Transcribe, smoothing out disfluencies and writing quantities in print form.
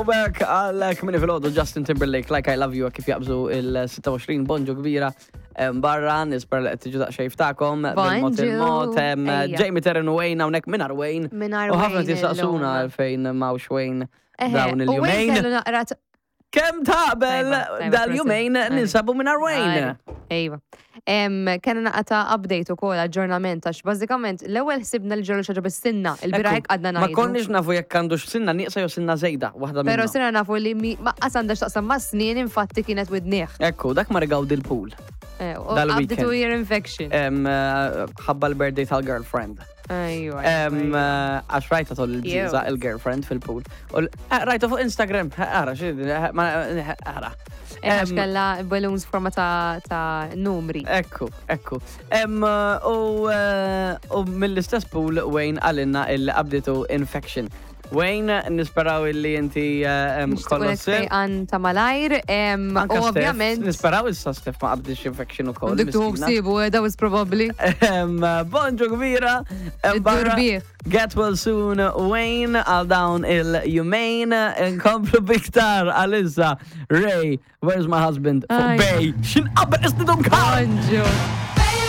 Throwback għal kmini fil-ħodu Justin Timberlake, Like I Love You, kif jaqbżu il-26 bonġu kbira barra, nispera li qed tiġu daqsxejn ftakom. Bil-mod Bonġu. il-mod, Ejja. Jamie Terren u Wayne hawnhekk mingħajr Wayne. Mingħajr U ħafna Wayne tisaqsuna illum. għalfejn m'hawnx Wayne Eħe, dawn u Wayne il-jumejn. kellu naqra t- Kemm taqbel Tajba, tajba, dal-jumejn prosit. ninsabu mingħajr Wayne. Ejwa. Kena naqra ta' update u kol aġġornament għax bażikament l-ewwel ħsibna li ġralu xi ħaġa bis-sinna, il-bieraħ hekk għadna Ma ngħidu. konniex nafu jekk għandux sinna nieqsa jew sinna żejda, waħda Però minnhom. sirna nafu li mi ma qas għandha x'taqsam ma' snien infatti kienet widnieh. Ekku, dak mar igawdi l-pool. Eh, u Dal-weekend. Qabditu ear infection. Em, eh, Ħabba l-birthday tal-girlfriend. Ejwa. Em, eh, Għax rajta tol il-bżiza Cute. il-girlfriend fil-pool. U l- eh, Rajta fuq Instagram, eh, ara, xi, eh, ma- eh, ara. Għax Em, kella balloons forma ta' ta' numri. Ekku, ekku. Em, eh, U eh, u mill-istess pool Wayne għalinna il-qabditu infection. Wayne, nisperaw illi inti eh, em, Nixtiequ kollox lek sew. fejqan ta' malajr. em, Anka U Steph, ovvjament. Nisperaw issa Steph ma qabdix infection u koll. Dik tuħu ħsiebu, eh, that was probably. Bonġu kbira. em, barra. Id-durbieħ. Get well soon, Wayne, għal dawn il-jumejn, nkomplu biktar għal-issa. Ray, where's my husband? Fuq Aj. Bay, xin qabel istidum kar! Bonġu.